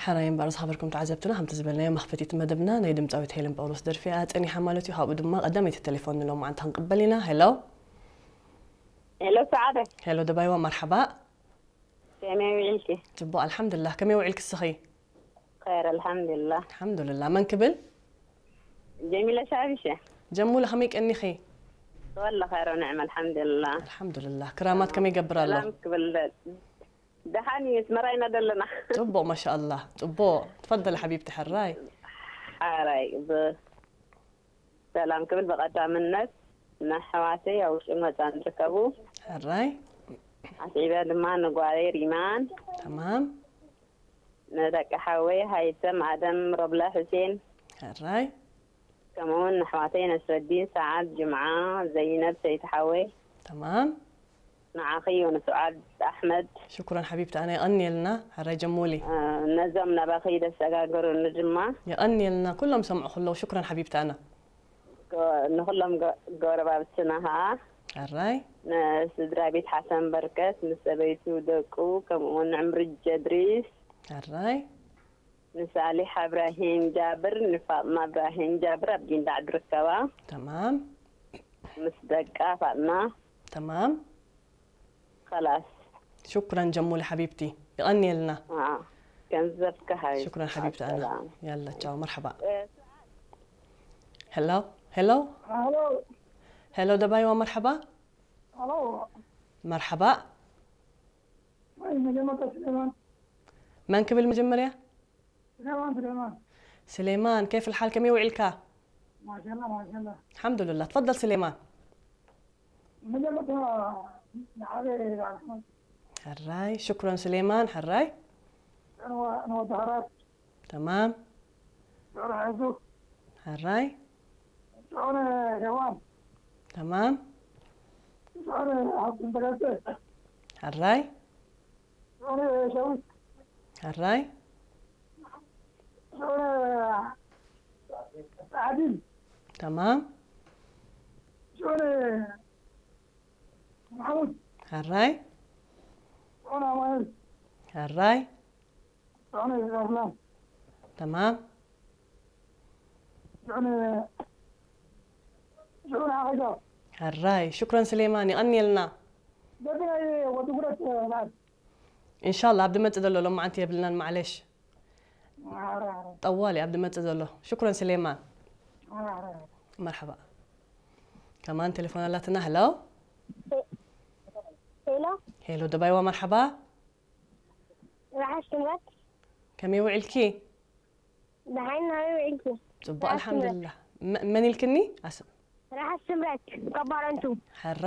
ሕራይ እምበኣር ዝኸበርኩም ተዓዘብትና፣ ከምቲ ዝበልናዮ መኽፈቲት መደብና ናይ ድምጻዊት ሄለን ጳውሎስ ደርፊ እያ ጸኒሓ ማለት እዩ። ካብኡ ድማ ቀዳመይቲ ቴሌፎን ንሎማዓንቲ ክንቅበል ኢና። ሄሎ። ሄሎ ሰዓደ። ሄሎ ደባይዋ፣ መርሓባ። ከመይ ውዒልኪ? ጽቡቕ ኣልሓምዱሊላህ። ከመይ ውዒልኪ እስኺ? ኸይር ኣልሓምዱሊላህ። ኣልሓምዱሊላህ። መን ክብል? ጀሚለ ሻቢሸ። ጀሙለ ከመይ ቀኒኺ? ወላ ኸይር ንዕም ኣልሓምዱሊላህ። ኣልሓምዱሊላህ። ክራማት ከመይ ይገብር ኣሎ? ሰላም ክብል። ደሓን እዩ፣ ኣስመራ ኢና ዘለና። ጽቡቕ ማሻኣላህ ጽቡቕ። ትፈደል ሓቢብቲ ሕራይ። ሓራይ ብሰላም ክብል ብቐዳምነት ንኣሕዋተይ ኣብ ውሽጥን ወፃን ዝርከቡ ሕራይ። ኣስዒበ ድማ ንጓለይ ሪማን ተማም። ንደቂ ሓወይ ሃይተም ኣደም ሮብላ ሕሴን ሕራይ። ከምኡውን ንኣሕዋተይ ነስረዲን ሰዓድ ጅምዓ ዘይነብ ሰይቲ ሓወይ ተማም። ንዓኺ ዮኑ ሱዓድ ኣሕመድ ሽኩረን ሓቢብቲ ኣነ የቐንየልና። ሕራይ ጀሙሊ። ነዞም ናባኺ ደሰጋገሩኒ ድማ የቐንየልና ኩሎም ሰምዑ ከለዉ ሽኩረን ሓቢብቲ ኣነ። ንኹሎም ጎረባብትና ኸዓ ሕራይ። ንስድራ ቤት ሓሰን በርከት፣ ንሰበይቱ፣ ደቁ፣ ከምኡ እውን ንዕምሪ ጀድሪስ፣ ሕራይ። ንሳሊሕ እብራሂም ጃብር፣ ንፋጥማ እብራሂም ጃብር ኣብ ጊንዳዕ ዝርከባ ተማም። ምስ ደቃ ፋጥማ ተማም። خلاص ሽኩረን ጀሙሊ ሓቢብቲ። ይቐንየልና። አ ገንዘብካ ሃይ ሽኩረን ሓቢብቲ ኣነ። ሰላም። ያላ ቻው መርሓባ። እ፣ ሄሎ ሄሎ ሄሎ ሄሎ ደባይዋ መርሓባ። ሄሎ መርሓባ። ወይ መጀመርታ ስሌማን መን ክብል መጀመርያ? ስሌማን ስሌማን ስሌማን كيف الحال ከመይ ውዒልካ? ማሻላ ማሻላ الحمد لله تفضل سليمان. መጀመርታ ንዓበ ኣሕመድ ሕራይ ሽኩረን ስሌማን ሕራይ። ንወዲ ሃራት ተማም። ሽዑር ሕዙ ሕራይ። ሽዑር ሄዋን ተማም። ሽዑር ሃብትን ተገሰ ሕራይ። ሽዑር ሸዊት ሕራይ። ሽዑር ዓዲል ተማም። ሽዑር ማሕሙድ ሕራይ። ሽዑር ኣማኑኤል ሕራይ። ሽዑር ኣስላም ተማም። ሽዑር ሽዑር ዓቂጃ ሕራይ ሽኩረን ስሌማን ይቐንየልና። በዚ ናይ ወዲ ጉረት ሰዓት ኢንሻላ ኣብ ድመጽእ ዘሎ ሎማዓንቲ የብልናን ማዕለሽ። ዓረ ዓረ ጠዋሊ ኣብ ድመጽእ ዘሎ ሽኩረን ስሌማን። ዓረ ዓረ መርሓባ። ከማን ቴሌፎን ኣላትና። ሄሎ ሄሎ ሄሎ ደባይዋ መርሓባ። ራሓሽ ትምረት ከመይ ውዒልኪ? ደሓን ናበይ ውዒልኪ? ጽቡቅ ራሓሽ ኣልሓምዱሊላህ። መ- መን ኢልክኒ? ኣስ- ራሓሽ ትምረት ካብ ባረንቱ። ሕራ